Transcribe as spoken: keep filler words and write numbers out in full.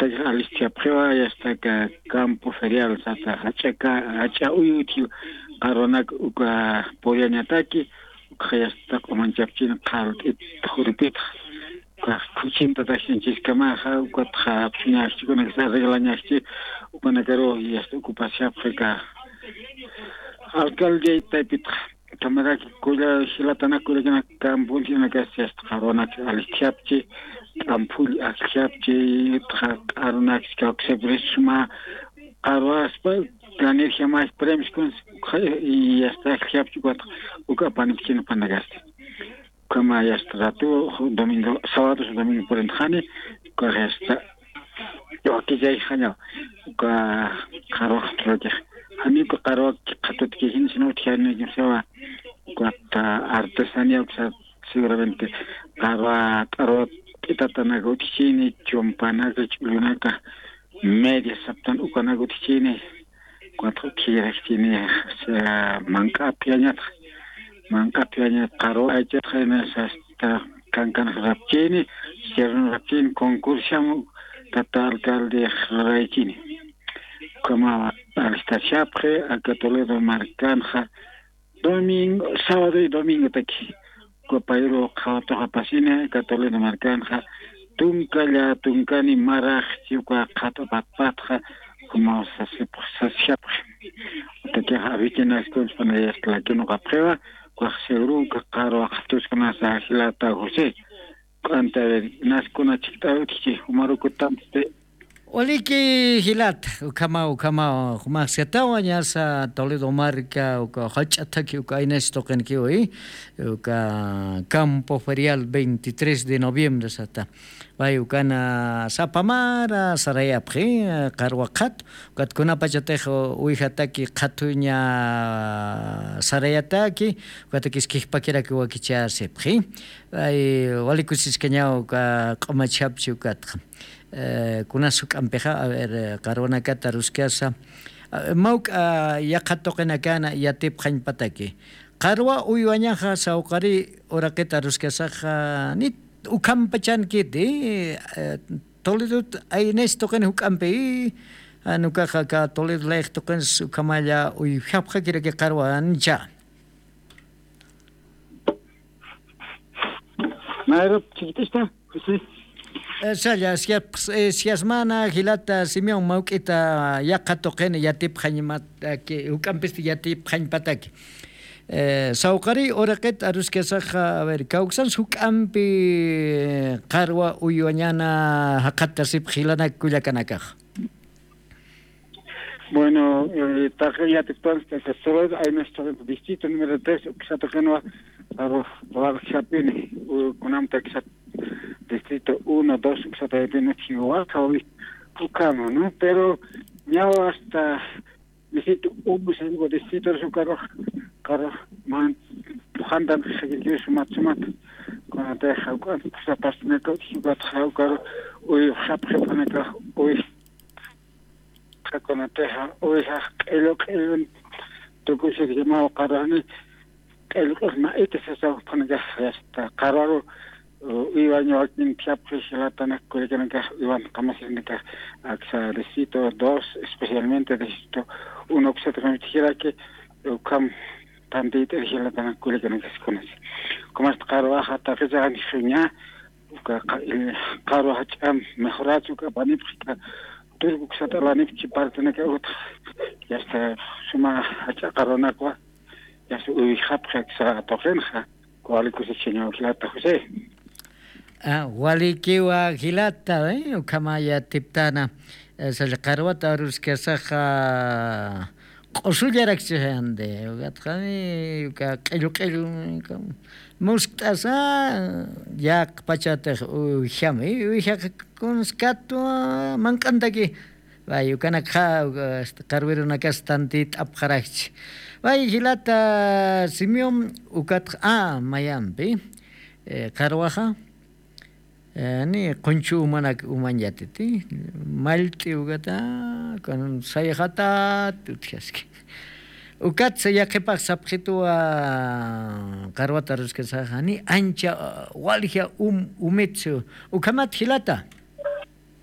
Tayxa alistjapxiwa yastaka campo ferial sata jach'aka jach'a uyutji qarwanak uka puriañataki. Ukxa yasta q'umanchapchini qhalt'it juripitxa. Ukax khuchinta taxinchiskamaxa ukatxa apsuñaxchi ukanakis arreglañaxchi. Ukanakaru yasta ocupasiapxika alcalde taypitxa. Kamaraki kulla jilatanak kullakanak campunchinakas yasta qarwanak alistjapchi. T'amphull ajllapchi txa q'arunak kawksepurisma. Qarwaspa ganirjamax premios kuns. Yasta ajllapchi ukat uka apanipchina panakasti. Ukhama yasta ratu domingo sábados domingo purintxani. Ukax yasta wakillayxañaw uka qarwaq turakix. Janiku qarwak qhatutkijinisina utjani kimsawa. Ukat artesanía uksa seguramente qarwa t'arwa p'itatanaka utjchini chumpanaka ch'ullunaka media saptan ukanaka utjchini. Ukat utjirakchini manq'api añatxa manq'api añat qarwa aychatxa inas asta kankanx rapchini. Sierrun rapchini concursamu tata alcalde ruraychini. Ukhama alistashapxi aka toledo markanxa domingo sábado y domingotaki. Ukapayru qhawatuxapasini aka toledo markanxa tunkalla tunkani maraxchi uka qhat'apatpatxa. Ukhamaw sasishapxi. Utakixa afichinaskun chpanayasta lakinuqapxiwa. Ukax seguro uka qarwa qhatuskunasa jilata josé. K'anta ver naskuna chikt'awitxchi umarukutamsti. Waliki jilata ukhama ukhama jumaxsiatawa ñasa toledo marca uka jach'athaki uka aynas tuqinkiwi. Uka campo ferial veintitrés de noviembre sata. Pay ukana sapamara sarayapxi qarwa qhatu. Ukatkunapachatix uwijataki qhatuña sarayataki ukatakis kijpakiraki wakichasipxi. Ay walikusiskañaw uka q'umachapchi ukatxa. Kunas juk'ampixa aver qarwanakata ruskasa mawk'a yaqha tuqinakana yatipxañpataki. Qarwa uywañaxa sawqari uraqita ruskasaxa nit ukhampachankiti. Toledot aynes tuqin juk'ampi. Nukaxa ka toledo layx tuqins ukhamalla uyjapxakiraki qarwancha. Mayrup chiquitista. Salla siyasmana jilata simeon mawk'ita yaqha tuqin yatipxañmataki juk'ampisti yatipxañpataki. Sawqariy uraqit aruskasaxa aver kawksans juk'ampi qarwa uywañana jaqatasipx jilanak kullakanakaxa. Bueno, taqi yatiptans taqi solo aynas tuqin distrito número tres uksatuqinwa. Warxapini kunamta uksat distrito uno dos uksatayapini chiwaqawi. Ukama no pero ñaw hasta distrito uno cinco distrito sukarux karux man pujantan xikirkiw sumat sumat. Kunatix jawk'an pusapastinaka utkikatxa jawkaru uyxapxipxanakax uy. Kunatixa uwijax q'illu q'illun tukushirkimaw qarwani. Q'illu q'illun ma'ita sasawpanakax yasta qarwaru uywaña wakin phiapxi jilatanak kullakanakax uywan qamasirinakax aksa distrito dos especialmente distrito uno kusataqamtijiraki. Ukham tantiyt'ir jilatanak kullakanakaskunas. Ukamasta qarwaxa taqichaxanixuña uka qarwa jach'am mejorachu uka apanipxi ka turku kusat'alanipchi partenaka utx. Yasta suma jach'a qarwanakwa yasta uywijapxi aksa tuqinxa. Wali kusichañaw jilata josé. Walikiwa jilata ukhama yatiptana salla qarwata aruskasaxa q'usullarakchixayandi. Ukatxani uka q'illu q'illu muskt'asa yaqpachatix uwjami uwjaq kunskatwa mank'antaki. Pay ukanakxa qarwirunakas tantit'apxarakchi. Pay jilata simeon ukatxa a mayampi qarwaxa ni qunchu umanak umañatiti mallt'i ukata kan sayxatat utjaski. Ukatsa yaqhipax sapxituwa qarwata ruskasaxa ni ancha walja um umitsu. Ukhamat jilata